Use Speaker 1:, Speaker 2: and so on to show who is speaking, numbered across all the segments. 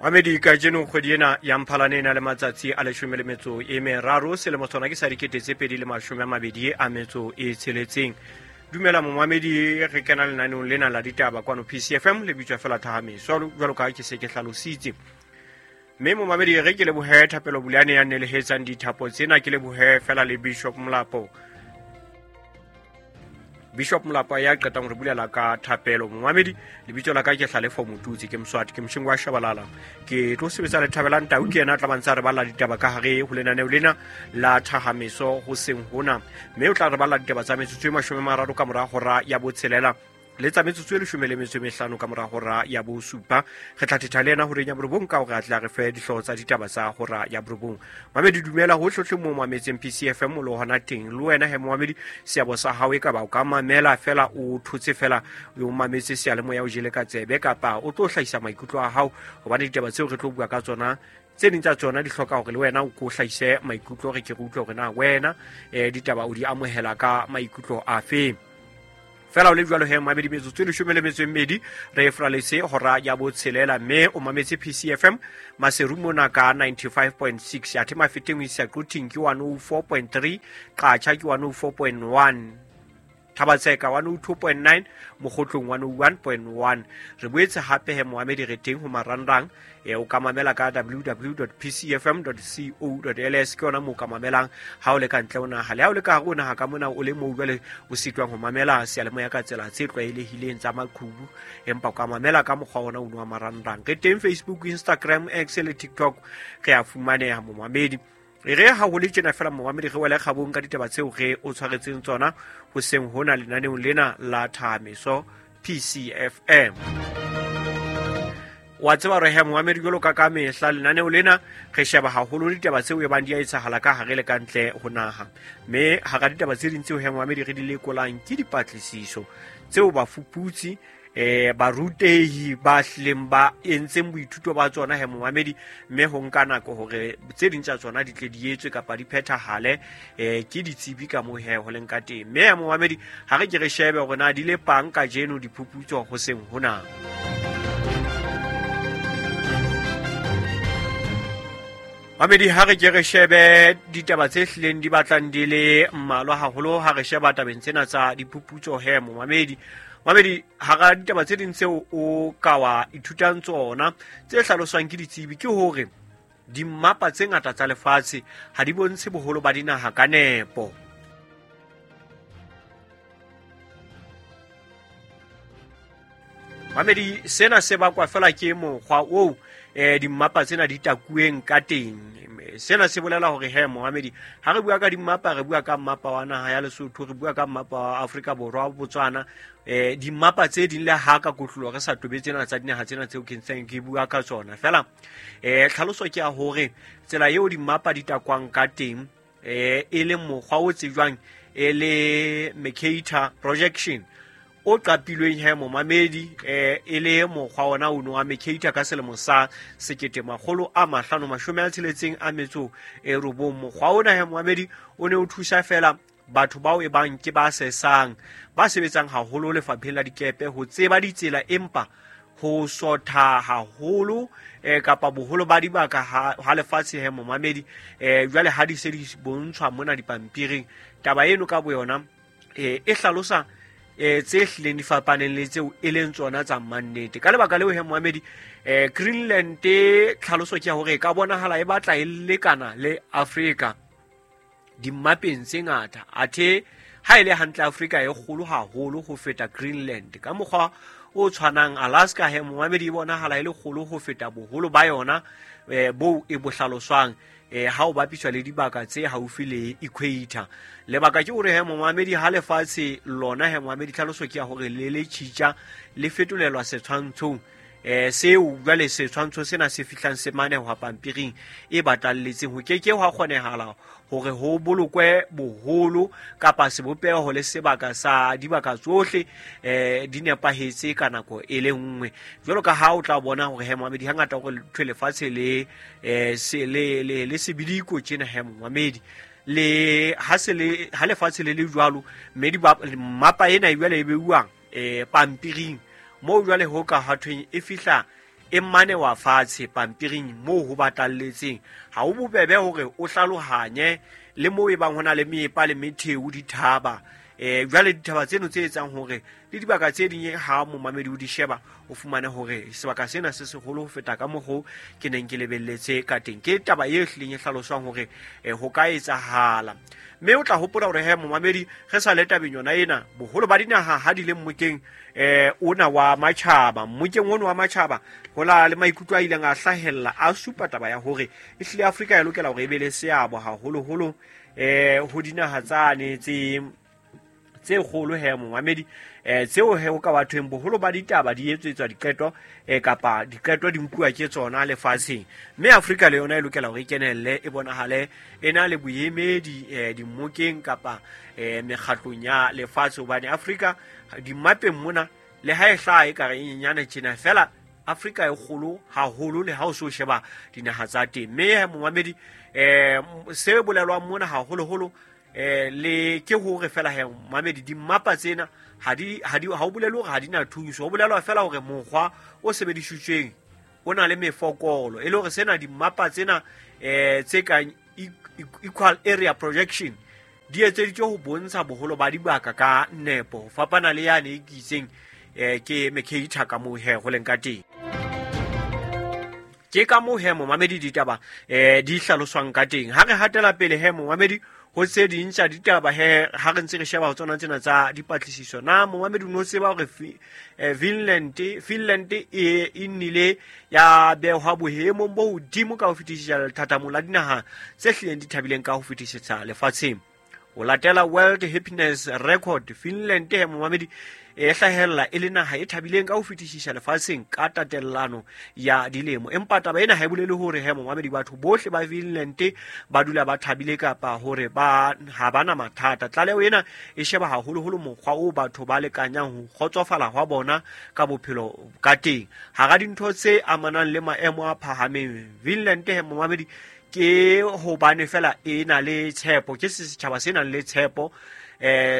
Speaker 1: Mamedi, kajeno kgwedi ena ya Mphalane e na le matsatsi a 13, selemo sona ke sa 2026. Dumela momamedi, re kena lenaneong lena la ditaba kwano PCFM, le bitswa fela Thahameso jwalo ka ke se ke hlalositse. Mme momamedi, re ke lebohe Thapelo Bulane ya nelehetsang dithapo tsena, ke lebohe fela le Bishop Molapo. Bishop Molapo ya qetang re bulela ka thapelo. Momamedi, lebitso la ka ke Hlalefo Motutsi, ke Mswati, ke moshingo wa Shabalala. Ke tlo sebetsa le Thabelang Tau, ke yena a tla bantsa re balla ditaba ka hare ho lenaneo lena la Thahameso hoseng hona. Mme o tla re balla ditaba tsa metsotso e 30 ka mora hora ya 6 le tsa metsotso e 15 ka mora hora ya 7. Re tla thetha le yena horeng ya 9 ka hore a tla re fe dihlooho tsa ditaba tsa hora ya 9. Mamedi, dumela hohlohle mo mametseng PCFM le hona teng. Le wena he momamedi, seabo sa hao e ka ba o ka mamela fela o thotse fela o mametse seyalemoya o jele ka tsebe, kapa o tlo hlahisa maikutlo a hao, hobane ditaba tseo re tlo bua ka tsona tse ding tsa tsona di hloka hore le wena o ko hlahise maikutlo, re ke re utlwe hore na wena ditaba o di amohela ka maikutlo afe. Fela o le jwalo he mamedi, metsotso e 12 re fraletse hora ya 6, mme o mametse PCFM Maseru mona ka 95.6, athe Mafeteng ho isa Quthing ke 104.3, Qacha ke 104.1, Thabatseka 102.9, Mokgotlong 101.1. Re boetse hape he moamedi re teng ho marangrang, o ka mamela ka www.pcfm.co.ls, ke yona moo ka mamelang ha o le ka ntle ho naha. Le ha o le ka hare ho naha ka mona o le moo jwale o sitwang ho mamela seyalemoya ka tsela tse tlwaelehileng tsa maqhubu, empa o ka mamela ka mokgwa ona o wa marangrang. Re teng Facebook, Instagram, X le TikTok, re a fumaneha momamedi. Re ha ho le tjena fela momamedi, re wele kgabong ka ditaba tseo re o tshwaretseng tsona hoseng hona lenaneong lena la Thahameso PCFM. Wa tseba re he momamedi, jwalo ka ka mehla lenaneo lena re sheba haholo ditaba tseo e bang di a etsahala ka hare le ka ntle ho naha. Mme hara ditaba tse ding tseo he momamedi re di lekolang ke dipatlisiso tseo bafuputsi barutehi ba hlileng ba entseng boithuto ba tsona he momamedi, mme ho nka nako hore tse ding tsa tsona di tle di etswe kapa di phethahale, ke ditsebi ka moo he ho leng ka teng. Mme he momamedi, ha re ke re shebe hore na di le pang kajeno diphuputso hoseng hona. Mamedi, ha re ke re shebe ditaba tse hlileng di batlang di le mmalwa haholo ha re sheba tabeng tsena tsa diphuputso he momamedi. Mamedi, hara ditaba tse ding tseo o ka wa ithutang tsona tse hlaloswang ke ditsebi ke hore dimmapa tse ngata tsa lefatshe ha di bontshe boholo ba dinaha ka nepo. Mamedi, sena se bakwa fela ke mokgwa oo dimmapa tsena di takuweng ka teng. Sena se bolela hore he momamedi, ha re bua ka dimmapa, re bua ka mmapa wa naha ya Lesotho, re bua ka mmapa wa Afrika Borwa, Botswana, dimmapa tse ding le ha ka kotlolo re sa tobe tsena tsa dinaha tsena tseo ke ntseng ke bua ka tsona. Fela tlhaloso ke ya hore tsela eo dimmapa di takwang ka teng, e le mokgwa o tsejwang e le Mercator projection o qapilweng he momamedi, e le mokgwa ona ono wa Mercator ka selemo sa 1569. Mokgwa ona he momamedi o ne o thusa fela batho bao e bang ke ba sesang, ba sebetsang haholo lefapheng la dikepe ho tseba ditsela, empa ho sotha haholo kapa boholo ba dibaka ha lefatshe he momamedi. Jwale ha di se di bontshwa mona dipampiring, taba eno ka boyona e hlalosa tse hlileng di fapaneng le tseo e leng tsona tsa mannete. Ka lebaka leo he momamedi, Greenland tlhaloso ke ya hore e ka bonahala e batla e lekana le Afrika dimmapeng tse ngata, athe ha e le hantle Afrika e kgolo haholo ho feta Greenland. Ka mokgwa o tshwanang, Alaska he momamedi e bonahala e le kgolo ho feta boholo ba yona boo e bo hlaloswang ha o bapiswa le dibaka tse haufi le equator. Lebaka ke hore he momamedi, ha lefatshe lona he momamedi, tlhaloso ke ya hore le le tjhitja le fetolelwa setshwantshong, seo jwale setshwantsho sena se fihlang se manehwa pampiring e batalletseng, ho keke hwa kgonehala hore ho bolokwe boholo kapa sebopeho le sebaka sa dibaka tsohle di nepahetse ka nako e le nngwe. Jwalo ka ha o tla bona hore he momamedi, hangata hore thwe lefatshe le le sebidiko tjena he momamedi, le ha se le ha lefatshe le le jwalo, mme mmapa ena e jwale e beuwang pampiring moo jwale ho ka hathweng e fihla e manewa fatshe pampiring moo ho batalletseng. Ha ho bobebe hore o hlalohanye le moo e bang ho na le meepa le metheo dithaba. Jwale dithaba tseno tse etsang hore le dibaka tse ding ha momamedi o di sheba o fumane hore sebaka sena se seholo ho feta ka mokgo ke neng ke lebelletse ka teng. Ke taba e hlileng e hlaloswang hore ho ka etsahala. Mme o tla hopola hore he momamedi re sa le tabeng yona ena, boholo ba dinaha ha di le mmokeng ona wa matjhaba, mmokeng ono wa matjhaba ho la le maikutlo a ileng a hlahella a supa taba ya hore e hlile Afrika e lokela hore e be le seabo haholoholo ho dinaha tsane tse kgolo he momamedi, tseo he ho ka bathweng boholo ba ditaba di etsetswa diqeto kapa diqeto di nkuwa ke tsona lefatsheng. Mme Afrika le yona e lokela hore e kenelle, e bonahale e na le boemedi dimmokeng kapa mekgatlong ya lefatshe, hobane Afrika dimmapeng mona le ha e hlaha e kare e nyenyane tjena, fela Afrika e kgolo haholo le ha o so sheba dinaha tsa teng. Mme momamedi se bolelwang mona haholoholo le ke hore fela he mamedi dimmapa tsena ha o bolele hore ha di na thuso, ho bolelwa fela hore mokgwa o sebedisitsweng o na le mefokolo, e le hore sena dimmapa tsena tse kang equal area projection di etseditswe ho bontsha boholo ba dibaka ka nepo, ho fapana le yane e ke itseng ke Mercator ka moo he ho leng ka teng. Ke ka moo he momamedi ditaba di hlaloswang ka teng. Ha re hatela pele he momamedi ho tse ding tsa ditaba he ha re ntse re sheba ho tsona tsena tsa dipatlisiso, na momamedi o no tseba hore Finland e nnile ya behwa boemong bo hodimo ka ho fetisisa lethathamong la dinaha tse hlileng di thabileng ka ho fetisisa lefatsheng. Ho latela World Happiness Record, Finland he momamedi e hlahella e le naha e thabileng ka ho fetisisa lefatsheng ka tatellano ya dilemo. Empa taba ena ha e bolele hore he momamedi batho bohle ba Finland ba dula ba thabile kapa hore ba ha bana mathata. Tlaleho ena e sheba haholoholo mokgwa o batho ba lekanyang ho kgotsofala hwa bona ka bophelo ka teng. Hara dintho tse amanang le maemo a phahameng, Finland he momamedi ke hobane fela e na le tshepo, ke setjhaba se nang le tshepo,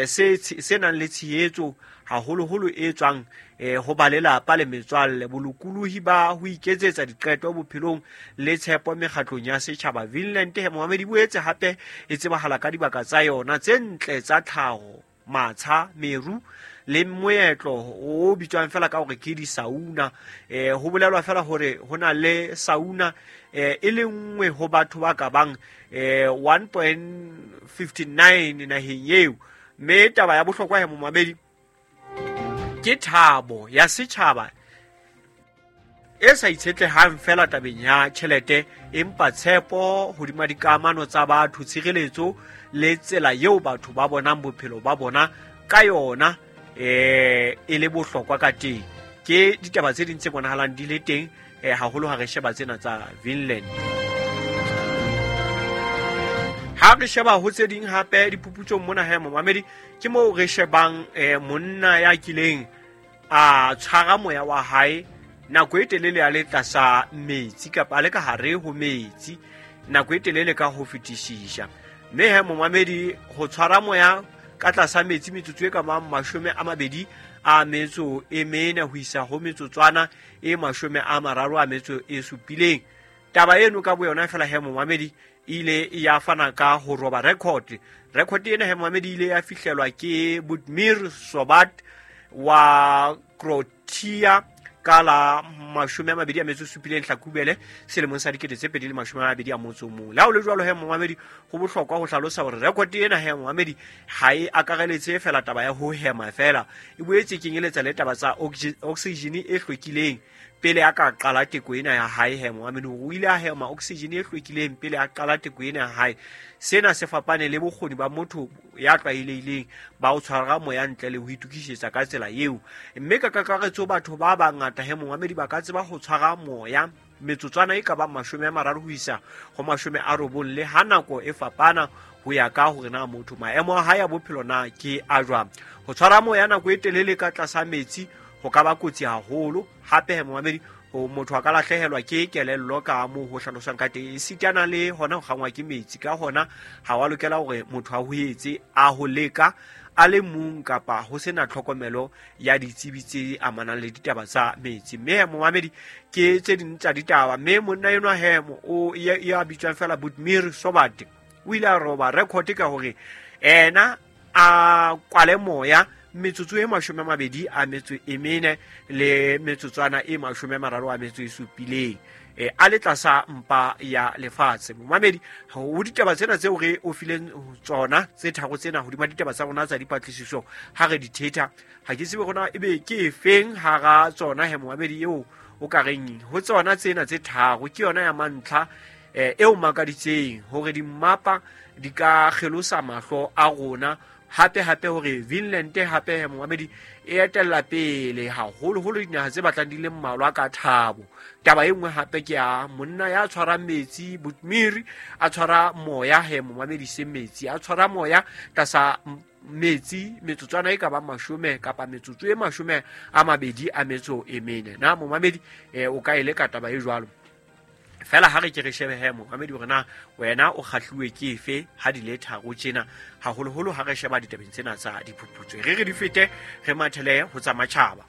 Speaker 1: se nang le tshehetso haholoholo e tswang ho ba lelapa le metswalle, bolokolohi ba ho iketsetsa diqeto bophelong le tshepo mekgatlong ya setjhaba. Finland he momamedi boetse hape e tsebahala ka dibaka tsa yona tse ntle tsa tlhaho, matsha, meru le moetlo o bitswang fela ka hore ke di-sauna. Ho bolelwa fela hore ho na le sauna e le nngwe ho batho ba ka bang 1.59 naheng eo. Mme taba ya bohlokwa he momamedi ke thabo ya setjhaba e sa itshetlehang fela tabeng ya tjhelete, empa tshepo hodima dikamano tsa batho, tshireletso le tsela eo batho ba bonang bophelo ba bona ka yona e le bohlokwa ka teng. Ke ditaba tse ding tse bonahalang di le teng haholo ha re sheba tsena tsa Finland. Ha re sheba ho tse ding hape diphuputsong mona he momamedi, ke moo re shebang monna ya kileng a tshwara moya wa hae nako e telele a le tlasa metsi kapa a le ka hare ho metsi nako e telele ka ho fetisisa. Mme he momamedi ho tshwara moya ka tlasa metsi metsotso e ka bang 24 ho isa ho metsotswana e 37. Taba eno ka boyona fela he momamedi ile ya fana ka ho roba record. Record ena he momamedi ile ya fihlelwa ke Budimir Sobat wa Croatia ka la 27 Hlakubele selemong sa 2021. Le ha ho le jwalo he momamedi, ho bohlokwa ho hlalosa hore record ena he momamedi ha e akareletse fela taba ya ho hema fela, e boetse kenyeletsa le taba tsa oxygen e hlwekileng pele a ka qala teko ena ya hae. He momamedi o ile a hema oxygen e hlwekileng pele a qala teko ena ya hae. Sena se fapane le bokgoni ba motho ya tlwaelehileng ba ho tshwara moya ntle le ho itokisetsa ka tsela eo. Mme ka kakaretso batho ba bangata he momamedi ba ka tseba ho tshwara moya metsotswana e ka bang 30 ho isa ho 90, le ha nako e fapana ho ya ka hore na motho maemo a hae a bophelo na ke a jwang. Ho tshwara moya nako e telele ka tlasa metsi ho ka ba kotsi haholo. Hape he momamedi Motho a ka lahlehelwa ke kelello ka moo ho hlaloswang ka teng, esitana le hona ho kgangwa ke metsi. Ka hona ha wa lokela hore motho a ho etse a ho leka a le mong kapa ho sena tlhokomelo ya ditsebi tse amanang le ditaba tsa metsi. Mme momamedi, ke tse ding tsa ditaba. Mme monna enwa he o ya bitswang fela Budmir Sobat o ile a roba record ka hore ena a kwale moya metsotso e 24 le metsotswana e 37 a le tlasa mpa ya lefatshe. Momamedi, ho ditaba tsena tseo re o fileng tsona tse tharo tsena hodima ditaba tsa rona tsa dipatlisiso ha re di thetha, ha ke tsebe rona ebe ke efeng hara tsona he momamedi eo o ka reng ho tsona tsena tse tharo ke yona ya mantlha eo makaditseng hore dimmapa di ka kgelosa mahlo a rona. Hape hape hore Vinland hape momamedi e etella pele haholoholo dinaha tse batlang di le mmalwa ka thabo. Taba e nngwe hape ke ya monna ya tshwarang metsi Butmiri, a tshwara moya he momamedi se metsi, a tshwara moya tlasa metsi metsotswana e ka bang 10 kapa metsotso e 24. Na momamedi o ka e leka taba e jwalo? Fela ha re ke re shebe he momamedi hore na wena o kgahluwe ke efe ha di le tharo tjena, haholoholo ha re sheba ditabeng tsena tsa diphuputso. Re re di fete re mathele ho tsa matjhaba.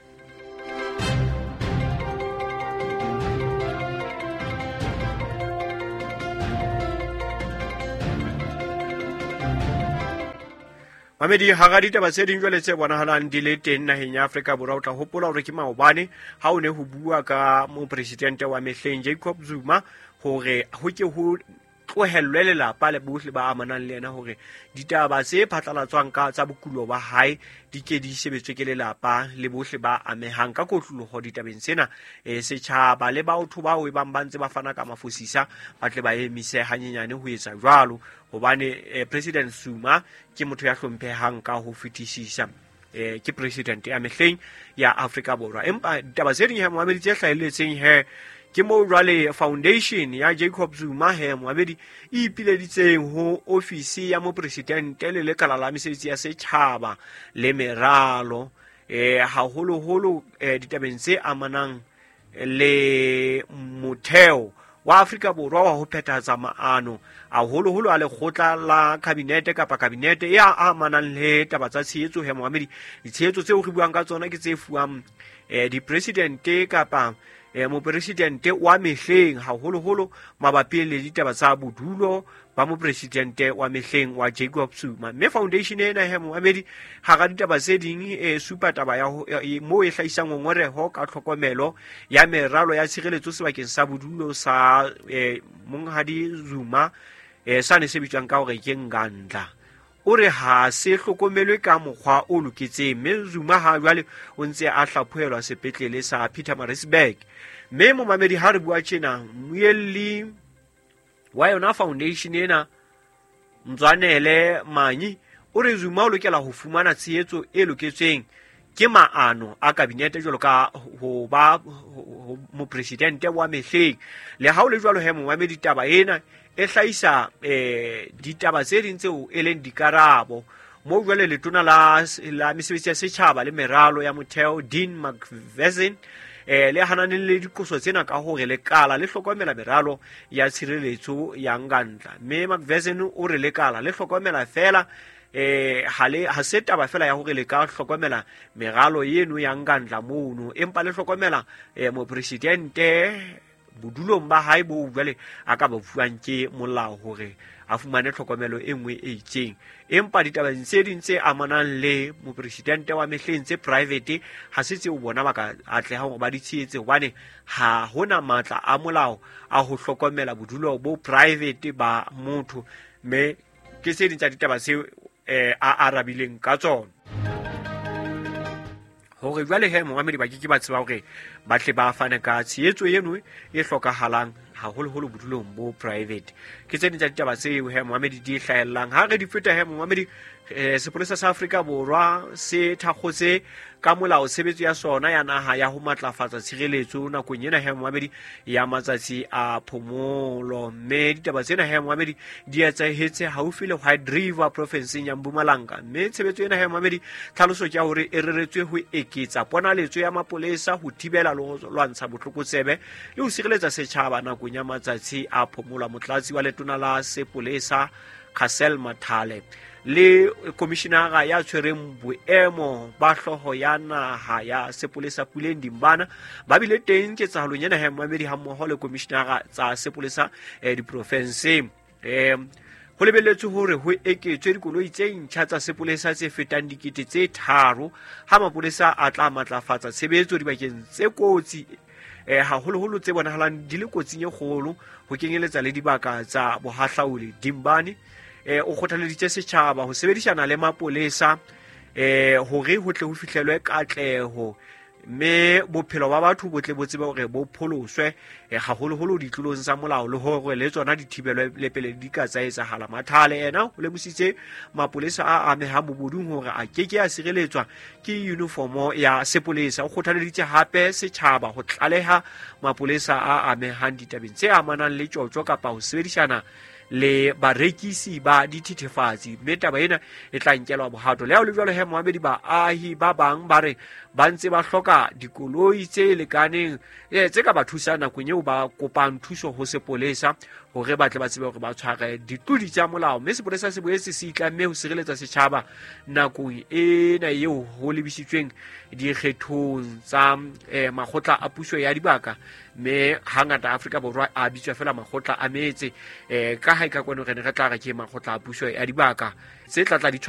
Speaker 1: Mamedi, hara ditaba tse ding jwale tse bonahalang di le teng naheng ya Afrika Borwa, o tla hopola hore ke maobane ha o ne ho bua ka mopresidente wa mehleng Jacob Zuma hore ho ke ho tlohellwe lelapa le bohle ba amanang le yena hore ditaba tse phatlalatswang ka tsa bokulo ba hae di ke di sebetswe ke lelapa le bohle ba amehang ka kotloloho ditabeng tsena. Setjhaba le batho bao e bang ba ntse ba fana ka mafosisa ba tle ba emise hanyenyane ho etsa jwalo, hobane President Zuma ke motho ya hlomphehang ka ho fetisisa, ke president ya mehleng ya Afrika Borwa. Empa ditaba tse ding he momamedi tse hlahelletseng he ke moo jwale foundation ya Jacob Zuma he momamedi e ipileditseng ho ofisi ya mopresidente le lekala la mesebetsi ya setjhaba le meralo, haholoholo ditabeng tse amanang le motheo wa Afrika Borwa wa ho phethahatsa maano haholoholo a lekgotla la kabinete kapa kabinete e amanang le taba tsa tshehetso he momamedi. Ditshehetso tseo re buang ka tsona ke tse fuwang dipresidente kapa mopresidente wa mehleng haholoholo mabapi le ditaba tsa bodulo ba mopresidente wa mehleng wa Jacob Zuma. Mme foundation ena he momamedi hara ditaba tse ding e supa taba ya moo e hlahisang ngongoreho ka tlhokomelo ya meralo ya tshireletso sebakeng sa bodulo sa monghadi Zuma, sane se bitswang ka hore ke Ngandla. O re ha se hlokomelwe ka mokgwa o loketseng, mme Zuma ha jwale o ntse a hlaphohelwa sepetlele sa Pietermaritzburg. Mme momamedi ha re bua tjena, mmuelli wa yona foundation ena Mzwanele Manyi o re Zuma o lokela ho fumana tshehetso e loketsweng ke maano a kabinete jwalo ka ho ba mopresidente wa mehleng. Le ha o le jwalo he momamedi, taba ena e hlahisa ditaba tse ding tseo e leng dikarabo. Moo jwale letona la mesebetsi ya setjhaba le meralo ya motheo Dean McPherson le hananeng le diqoso tsena ka hore lekala le hlokomela meralo ya tshireletso ya Ngandla. Mme McPherson o re lekala le hlokomela fela ha se taba fela ya hore le ka hlokomela meralo eno ya Ngandla mono, empa le hlokomela mopresidente bodulong ba hae bo jwale a ka ba fuwang ke molao hore a fumane tlhokomelo e nngwe e itseng. Empa ditabeng tse ding tse amanang le mopresidente wa mehleng tse private ha se tseo bona ba ka atleha hore ba di tshehetse, hobane ha hona matla a molao a ho hlokomela bodulo bo private ba motho. Mme ke tse ding tsa ditaba tseo a arabileng ka tsona hore jwale he momamedi ba ke ke ba tseba hore ba tle ba fane ka tshehetso eno e hlokahalang Haholoholo bodulong bo private. Ke tse ding tsa ditaba tseo he momamedi di hlahellang ha re di feta. He momamedi, sepolesa sa Afrika Borwa se thakgotse ka molao tshebetso ya sona ya naha ya ho matlafatsa tshireletso nakong ena, he momamedi, ya matsatsi a phomolo. Mme ditaba tsena, he momamedi, di etsahetse haufi le White River profinseng ya Mpumalanga. Mme tshebetso ena, he momamedi, tlhaloso ke ya hore e reretswe ho eketsa ponaletso ya mapolesa ho thibela le ho lwantsha botlokotsebe le ho sireletsa setjhaba nakong ya matsatsi a phomolo. Motlatsi wa letona la sepolesa Cassel Mathale le komishinara ya tshwereng boemo ba hlooho ya naha ya sepolesa Puleng Dimbana ba bile teng ketsahalong ena, he momamedi, hammoho le komishinara tsa sepolesa diprofenseng. Ho lebelletswe hore ho eketswe dikoloi tse ntjha tsa sepolesa tse fetang 3000 ha mapolesa a tla matlafatsa tshebetso dibakeng tse kotsi, haholoholo tse bonahalang di le kotsing e kgolo, ho kenyeletsa le dibaka tsa bohahlauli. Dimbane o kgothaleditse setjhaba ho sebedisana le mapolesa hore ho tle ho fihlelwe katleho mme bophelo ba batho bo tle bo tsebe hore bo pholoswe, haholoholo ditlolong tsa molao, le hore le tsona di thibelwe le pele di ka tsa etsahala. Mathale ena o lemositse mapolesa a amehang bobodung hore a keke a sireletswa ke uniformo ya sepolesa. O kgothaleditse hape setjhaba ho tlaleha mapolesa a amehang ditabeng tse amanang le tjotjo kapa ho sebedisana le barekisi ba dithethefatsi, mme taba ena e tla nkelwa bohato. Le ha ho le jwalo, he moamedi, baahi ba bang ba re ba ntse ba hloka dikoloi tse lekaneng tse ka ba thusang nakong eo ba kopang thuso ho sepolesa hore ba tle ba tsebe hore ba tshware ditlodi tsa molao. Mme sepolesa se boetse se itlamme ho sireletsa setjhaba nakong ena eo ho lebisitsweng dikgethong tsa makgotla a puso ya dibaka. Mme hangata Afrika Borwa a bitswa fela makgotla a metse, ka ha e ka kwano re ne re tla re ke makgotla a puso ya dibaka tse tla tla di